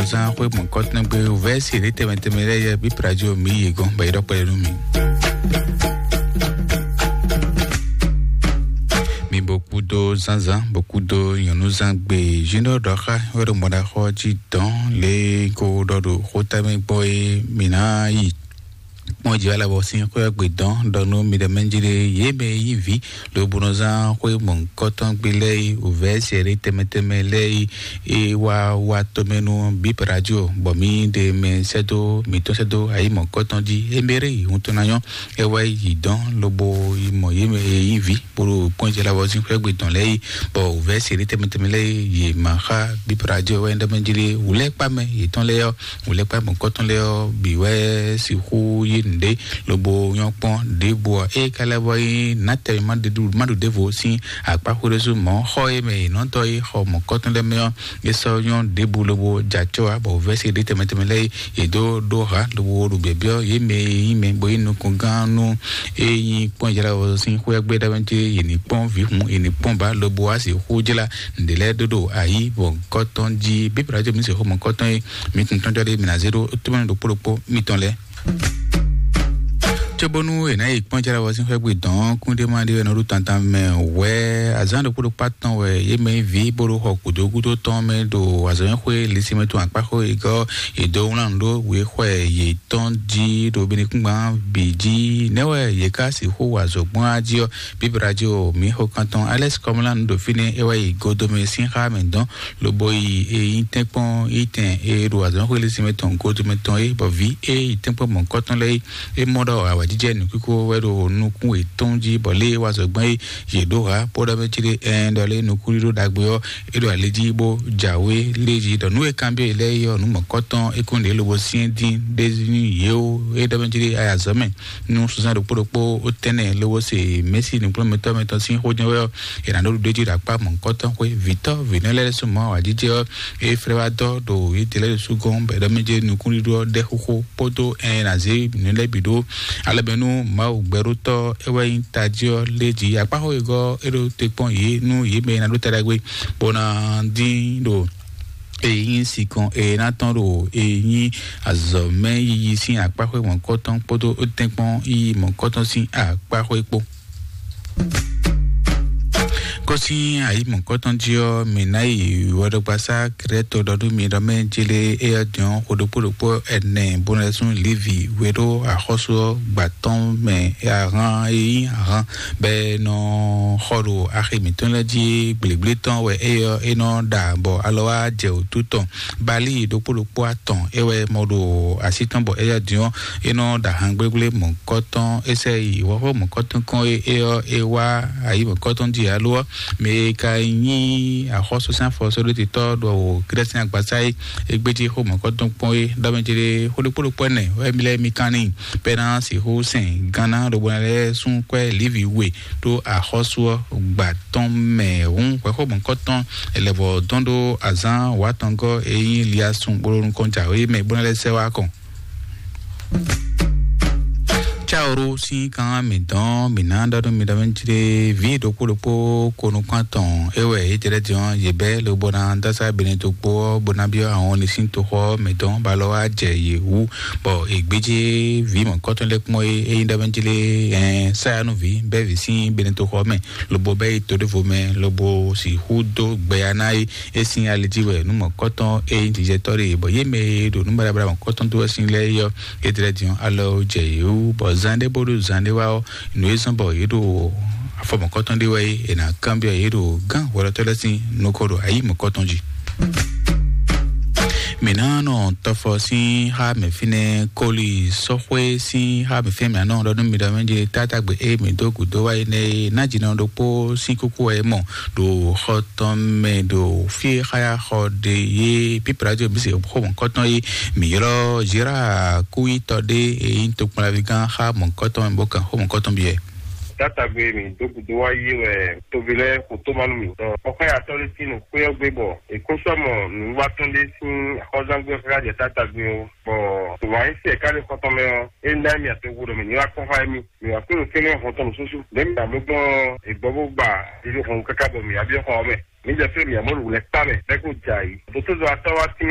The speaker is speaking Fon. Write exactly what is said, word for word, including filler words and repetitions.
Zan xwé mɔ̌kɔtɔn gbe vɛ́si ɖé tɛmɛ tɛmɛ lɛ́ɛ yɛ bí pradzo mi yě gɔ́n bɔ é ɖɔ kpɛɖé nú mi. Mi bo kúdó zánzán, bo kúdó nyɔ̌núzán gbe zíndɔ́ ɖɔ xá wɛ ɖo mɔɖaxɔ jí dɔn lě ko ɖɔ ɖo xótámɛ gbɔ é mi ná yi kpɔ́n jǐ alabɔ sín xwé ɔ́ gbe dɔn ɖɔ nú mi ɖɔ mɛ jí ɖé yě mɛ yí vǐ lobo nɔ zán xwé mɔ̌kɔtɔn gbe lɛ́ɛ yi wǔvɛ́ sɛ̌ɖé tɛmɛ tɛmɛ lɛ́ɛ yi é wá wá tɔmɛ nú bíp radio bɔ mǐ ɖe mɛ sɛ́dó mǐtɔn sɛ́dó ayǐ mɔ̌kɔtɔn jí éméré yi hun tɔn ná nyɔ́ é wá yi dɔn lobo yi mɔ yě mɛ e nyí vǐ bó ɖo kpɔ́n jɛ labɔ sín xwé gbe tɔn lɛ́ɛ yi bɔ wǔvɛ́ sɛ̌ɖé tɛmɛ tɛmɛ lɛ́ɛ yi yě ma xá bíp radio wɛ ɖɔ mɛ jí ɖé wǔlɛ́kpá mɛ yětɔn lɛ́ɛ ɔ́ wǔlɛ́kpá mɔ̌kɔtɔn lɛ́ɛ ɔ́ bǐ wɛ sixú yí nǔɖé lobo nyɔ́ kpɔ́n ɖěbǔ ɔ́ ée ka lɛ́ vɔ nyí nátɛ́ ma ɖu ɖěvo sín akpá xwéɖésú mɔ̌ xɔ e mɛ è nɔ tɔ́ yi xɔ mɔ̌kɔtɔn lɛ́ɛ mɛ ɔ́ é sɔ́ nyɔ́ ɖěbǔ lobo jɛ acɔ́ wá bɔ vɛ́si ɖé tɛmɛ tɛmɛ lɛ́ɛ yě dó ɖó ha lobo ɖo byɔ̌byɔ́ yě mɛ e nyí mɛ bó nyí nukɔn gán nú é nyí kpɔ́n Izlayɛ́li sín xwé gbé ɖ'ayǐ mɛ cé yě ní kpɔ́n vǐ hun yě ní kpɔ́n ba lobo wá sixú jlá nǔɖé lɛ́ɛ ɖó ɖo ayǐ mɔ̌kɔtɔn jí. Bíbélì ɔ́ jí mǐ sixú mɔ̌kɔtɔn e mǐ tunwun tɔn jɔ ɖé mǐ ná zé ɖó tómɛ́nɛ́ ɖokpó ɖokpó mitɔn lɛ́ɛ. Cóbónú è nǎ yi kpɔ́n Izlayɛ́li sín xwé gbe dɔn kúndéma ɖé wɛ nɔ ɖó tantan mɛ wɛ azǎn ɖokpó ɖokpó atɔn wɛ yě mɛ yí vǐ bó ɖo xɔ gǔdo gúdo tɔn mɛ ɖo azɔ̌nyɛ́xwé lisí mɛ tɔn akpáxó yi gɔ́ yě dó wlán nǔ ɖó wěxwɛ yětɔn jí ɖo benekúngban bǐ jí. Nɛ̌ wɛ yě ká sixú wa azɔ̌ gbɔn á jí ɔ́? Bíbélì jí o mǐ xo kan tɔn Alex Kɔmlán ɖo fínɛ́ é wá yi godomɛ sín xá mɛ dɔn lobo yi e nyí tɛ́nkpɔ́n yi tɛn e ɖo azɔ̌xwé lisí mɛ tɔn godomɛ tɔn é bɔ vǐ e yi tɛ́nkpɔ́n mɔ̌kɔtɔn lɛ́ɛ é mɔ ɖɔ awǎjijɛ nǔkíkó wɛ ɖo nukún yětɔn jí bɔ lě e wá zɔ gbɔn é yě ɖó ha bó ɖɔ mɛ cí ɖé ɛn ɖɔ lé nukúnɖíɖó ɖagbe ɔ́ é ɖo ali jí bó jǎwe lé jí ɖɔ nú e kanbyɔ́ yě lɛ́ɛ é ɔ́ nǔ mɔ̌kɔtɔn é kún ɖě lobo syɛ́n dín ɖé nú yě ó é ɖɔ mɛ cí ɖé ayazɔ́ mɛ nú sunzán ɖokpó ɖokpó ó tɛ́nɛ lobo se mɛ̌si nǔkplɔ́nmɛtɔ́ mɛtɔn sín xó jɛ́n wɛ ɔ́ è nǎ ɖó ɖuɖéjí ɖo akpá mɔ̌kɔtɔn xwé vǐtɔ́ vǐnɔ lɛ́ɛ sú mɔ̌ awǎjijɛ ɔ́ é flɛ́ wá dɔ́ ɖo yědɛɛ lɛ́ɛ ɖésú gɔ́n bɔ è ɖɔ mɛ jí nukúnɖíɖó ɔ́ ɖɛ́ xóxó kpódó ɛn è nǎ zé nǔ lɛ́ɛ bǐ ɖó alɔ mɛ nú Mawu gbɛɖótɔ́ é wɛ nyí tají ɔ́ lé jí akpáxó e gɔ́ é ɖó te kpɔ́n yě nú yě mɛ e ná ɖó ta ɖagbe bó ná dín ɖo èyí nyí sinkɔn e ná tɔn ɖo èyí nyí azɔ̌mɛ yiyi sín akpáxó mɔ̌kɔtɔn kpódó tɛ́nkpɔ́n yiyi mɔ̌kɔtɔn sín akpáxó kpó. Kɔsí ayǐ mɔ̌kɔtɔn jí ɔ́, mǐ ná yi wɔɖɔgbasá Krɛ́to ɖɔ nú mi ɖɔ mɛ jélé éyɔ́ din ɔ́, xo ɖokpó ɖokpó ɛnɛ bó ná sú Livi we ɖó axɔ́sú ɔ́ gbǎtɔ́ mɛ ahán e nyí ahán bɔ é nɔ xɔ ɖo axi mǐtɔn lɛ́ɛ jí gblěgblé tɔn wɛ éyɔ́ é nɔ ɖa bɔ alɔ wá jɛ wǔtu tɔn. Bali ɖokpó ɖokpó atɔn é wɛ mɔ ɖo así tɔn bɔ éyɔ́ din ɔ́ é nɔ ɖo ahan gblégblémɔ̌kɔtɔn é sɛ yi wɔ̌xɔ́mɔ̌kɔtɔn kɔn é é ɔ́ é wá ayǐmɔ̌kɔtɔn jí alo ɔ́ mɛ e ka nyí axɔ́súsɛ́n afɔsɔ́ɖótitɔ́ ɖo Grɛ́si sín agbasá é é gbéjí xómɔ̌kɔtɔn kpɔ́n é ɖɔ mɛ céɖé xó ɖokpó ɖokpó ɛnɛ wɛ mi lɛ́ɛ mi kan n'i bɔ é ná sixú sɛn gánná lobo ná lɛ́ sú kwɛ́ Livi we ɖó axɔ́sú ɔ́ gba tɔn mɛ hǔn hwɛxómɔ̌kɔtɔn è lɛ vɔ dɔn ɖó azǎn wǎtɔngɔ́ e nyí Liasun bó ɖo nukɔn jǎwe mɛ bó ná lɛ́ sɛ wá kɔn. Caoro sín kan mǐ dɔn mǐ ná ɖɔ nú mi ɖɔ mɛ jí ɖé vǐ ɖokpó ɖokpó ko nukún atɔn é wɛ é jɛ lɛ́ din ɔ́ yě bɛ́ lobo ná dásá bene ɖokpó ɔ́ bó ná byɔ́ ahɔn ní sín toxɔ ɔ́ mǐ dɔn bó alɔ wá jɛ yě wú bɔ è gbéjé vǐ mɔ̌kɔtɔn lɛ́ɛ kpɔ́n é é nyí ɖɔ mɛ jí lé ɛn sáyanúví bɛ́ vǐ sín bene toxɔ mɛ lobo bɛ́ yi to ɖěvo mɛ lobo sixú dó gbɛya ná é é sín ali jí wɛ nú mɔ̌kɔtɔn é nyí jijɛtɔ́ ɖe bɔ yé mɛ e ɖo nǔ baɖabaɖa mɔ̌kɔtɔn dó wɛ sín lɛ́ɛ é ɔ́ é tlɛ din ɔ́ alɔ jɛ yě wú bɔ zan ɖé bó ɖo zan ɖé wá ɔ́ nǔ e zɔ́n bɔ yě ɖo afɔ mɔ̌kɔtɔn ɖé wɛ é è nǎ kanbyɔ́ yě ɖo gán hwɛɖɔtɔ́ lɛ́ɛ sín nukɔn ɖo ayǐ mɔ̌kɔtɔn jí. Mǐ ná nɔ tɔfɔ sín xá mɛ fínɛ́ kóli sɔ́xwé sín xá mɛ fínɛ́ mǐ ná nɔ ɖɔ nú mi ɖɔ mɛ jí tátágbe e mǐ dó gǔdo wá é nɛ́ é ná jǐnɔ ɖokpó sín kúkú wɛ é mɔ ɖo xɔ tɔn mɛ ɖo fí e xáyaxɔ ɖe yé pípla jí omi se xó mɔ̌kɔtɔn é mǐ ylɔ́ Zera kúyítɔ ɖé e nyí tokpɔnlaví gán xá mɔ̌kɔtɔn mɛ bó kan xó mɔ̌kɔtɔn byɔ́ ɛ. Tatagbe mi dó gúdo wá yí wɛ tovi lɛ kò tó ma nú mi. Ɔ xɔ ya tɔ lé tinu kpé ɔ́ gbé bɔ èkó sɔ mɔ nǔwatɔn lé sín xɔzángbé xá jɛ tatagbe o. Bɔ tòwá yín sɛ ká lè xɔtɔn mɛ ɔ, é ná mi àtɔwò ɖɔ mi ní wá kpɔn xá mi. Mi wá kpé ló kélé xɔtɔn nù súsú. Lě mi àmú gbɔn ìgbɔ bó gbà ìlú xɔn káká bɔ mi àbí xɔ mɛ. Mi jẹ fẹ́ mi àmọ́ lù lẹ kpá mɛ bẹ́ẹ̀ kó jà yìí. Dótó zɔ atá wá sí